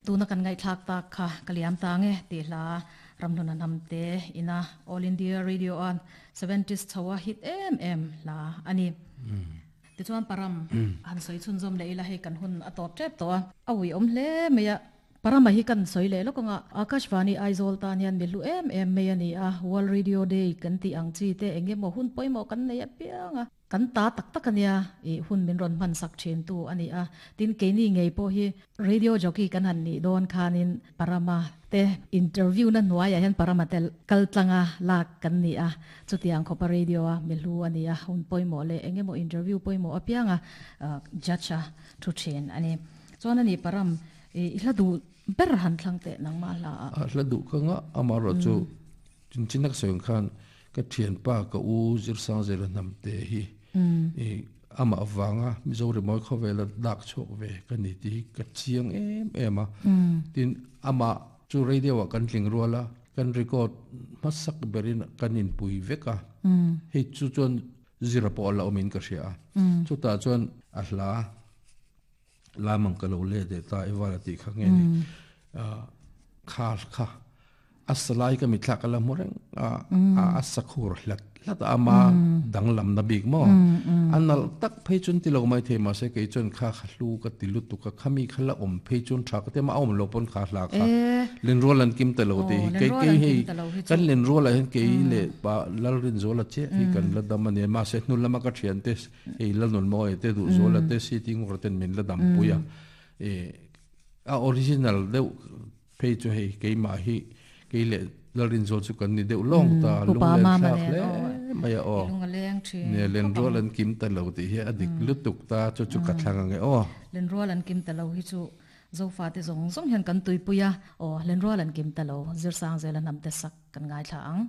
Tuna kan ngaihthlak tak kha ka liam ta nge tih hla Ramhlun a hnamte ina All India Radio a seventies chho a hit em em hla a ni. Tichuan Param han sawi chhunzawm leh ila hei kan hun a tawp tep tawh a, a uiawm hle mai a. Parama hi kan sawi leh lawk anga Akashvani Aizawl tan hian mi hlu em em mai a ni a, World Radio Day kan tih ang chi te eng emaw hun pawimawh kan nei apiang a, kan ta tak tak a nia ih hun min rawn hman sak thin tu a ni a, tin keini ngei pawh hi Radio Jockey kan han nih dawn khanin Parama te interview na hnuaiah hian Parama te kal tlanga lak kan ni a, chutiang khawpa radio a mi hlu a ni a, hun pawimawh leh eng emaw interview pawimawh apianga judge a thu thin a ni. Chuan a ni Param I hla duh ber han thlang teh nangmah hla ah. A hla duh ka ngah amaherawh chu chinchin a ka sawi ang khan ka thianpa ka u Zirsangzela Hnamte hi i amah avanga Mizo rimawi khawvela dak chhuak ve ka ni tih hi ka chiang em em a. Tin amah chu radio ah kan tling rual a, kan record hmasak berin kan inpui vek a. Hei chu chuan zira pawh a la awmin ka hria a. Chutah chuan a hla. Lamang ka lo let leh ta i vala tih kha nge ni kha kha a salai ka mitthla ka la hmu reng a a sakhur hlat hlat a ama danglam na bik maw a nalh tak phei chuan ti lo mai thei mahse kei chuan kha kha hlu ka ti lutuk a khami kha la awm phei chuan tha ka ti a awm lo pawn kha hla kha lenrual an kim ta lo tih hi kei kei hei kan lenrual ah hian kei leh pa Lalrinzuala chiah hi kan la dam a nia mahse hnu lama ka thian te Hei Lalnun Mawi te duh zuala te city ngawr ten min la dam pui a e a original deuh phei chu hei keimah hi kei leh Lalrinzawl chu kan ni deuh lawng ta lunglen thlak hle mai a aw ne lenrual an kim ta lo tih hi a dik lutuk ta chu chu ka thlang ange aw. Lenrual an kim ta lo hi chu Zofa te zawng zawng hian kan tuipui a aw lenrual an kim ta lo Zirsangzela hnamte sak kan ngaithla ang.